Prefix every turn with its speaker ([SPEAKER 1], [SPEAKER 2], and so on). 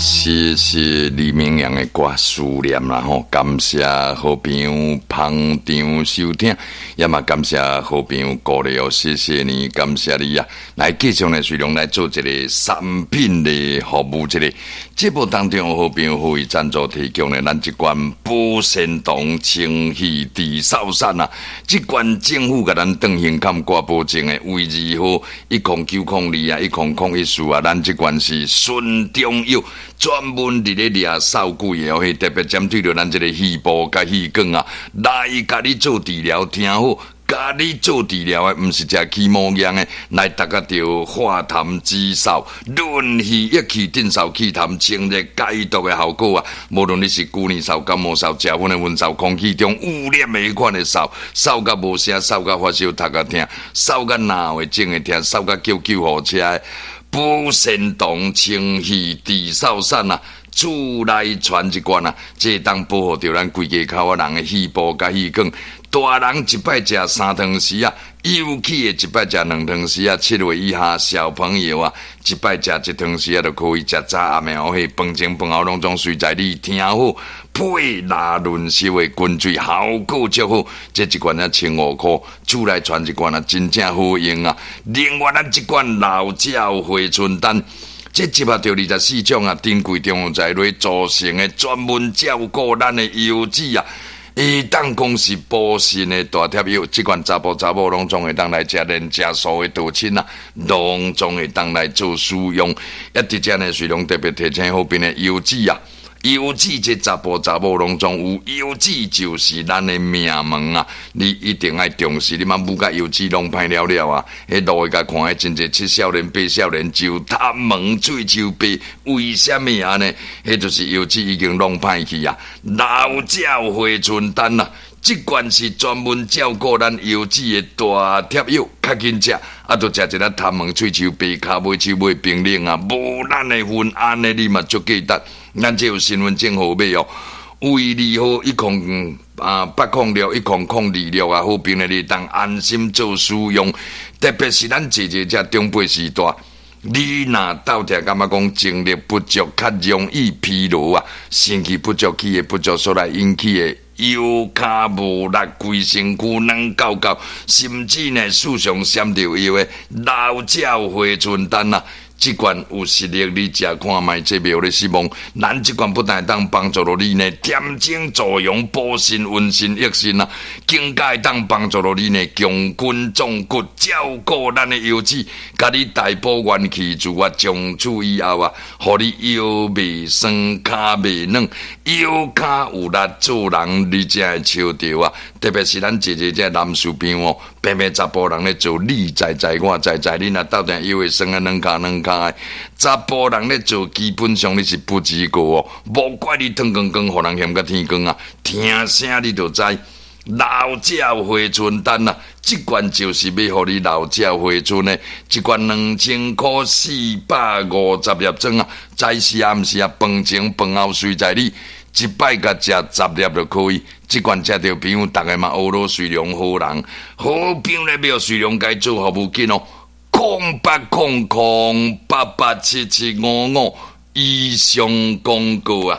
[SPEAKER 1] 謝謝李明陽的歌《思念》啦吼，感謝好朋友捧場收聽，也嘛感謝好朋友鼓勵哦，謝謝你，感謝你啊！來繼續呢，隨龍來做一個產品的服務，這個節目當中好朋友呼籲贊助提供的咱這罐保鮮糖清氣治嗽散啊，這罐政府共咱當胸坎掛保證的，衛字號10902啊，1014啊，咱這罐是純中藥。專門佇咧掠嗽鬼的哦，特別針對著咱這个肺部佮氣管啊，來共你做治療。聽好，共你做治療的，毋是食起毛藥的，來達個著化痰止嗽、潤肺益氣、鎮嗽氣痰、清熱解毒的效果啊！無論你是舊年嗽、感冒嗽、食薰的薰嗽、空氣中污染的彼款的嗽，嗽甲無聲，嗽甲發燒、頭殼疼，嗽甲腦會症的疼，嗽甲叫救護車的。補腎糖清氣治嗽散啊，厝內傳一罐啊，這當保護著咱規家口仔人的肺部佮氣管。大人一擺食三湯匙啊，幼齒的一擺食兩湯匙啊，7歲以下小朋友啊，一擺食一湯匙啊，就可以食早暗暝哦，飯前飯後攏總隨在你聽好，配拉潤濕的滾水效果足好。這一罐才15箍，厝內傳一罐啊，真正好用啊。另外，咱這罐老鳥回春丹，這集合著24種啊，珍貴中藥材來組成的，專門照顧咱的腰子啊。會當講是補腎的大帖藥，這款查埔查某攏總會當來食，連食素的道親啊，攏總會當來做使用。一佇遮呢，隨龍特別提醒好朋的腰子啊，腰子這查埔查某攏總有，腰子就是咱的命門啊！你一定愛重視，你嘛母甲腰子攏歹了了啊！彼路會共看，彼真濟七少年八少年就頭毛喙鬚白，為啥物按呢？彼就是腰子已經弄歹去啊！老鳥回春丹啊！這罐是專門照顧咱腰子的大帖藥，較緊食，啊，著食一粒頭毛喙鬚白，跤尾手尾冰冷啊，無咱的份，按呢你嘛足記得。咱這有身份證號碼哦，衛字號108061026啊，好朋友你當安心做使用。特別是咱姐姐這長輩時代，你若鬥聽感覺講精力不足，較容易疲勞啊，腎氣不足、氣血不足所來引起的腰跤無力、規身軀軟厚厚，甚至呢，事上閃著腰的老鳥回春丹啊！這罐有實力，你食看覓，這袂予你失望。咱這罐不但會當幫助到你呢，恬靜助陽、補腎、溫腎、益腎啊，更加會當幫助到你呢，強筋壯骨，照顧咱的腰子，共你大補元氣自啊，從此以後啊，予你腰袂酸、跤袂軟，腰跤有力做人，你才會笑著啊！特別是咱姐姐這男士朋友，平平查埔人咧做，你知知我知知，你若鬥定腰會酸啊，軟跤軟跤的，查埔人咧做，基本上你是不及格哦。無怪你脫光光，予人嫌甲天光啊！聽聲你就知，老鳥回春丹啊！這罐就是欲予你老鳥回春的，一罐2000箍450粒裝啊！早時暗時啊，飯前飯後隨在你。一擺共食十粒就可以。這罐食著朋友，逐个嘛學囉隨龍好人，好朋友咧欲隨龍共做服務緊哦。0800887755以上廣告啊。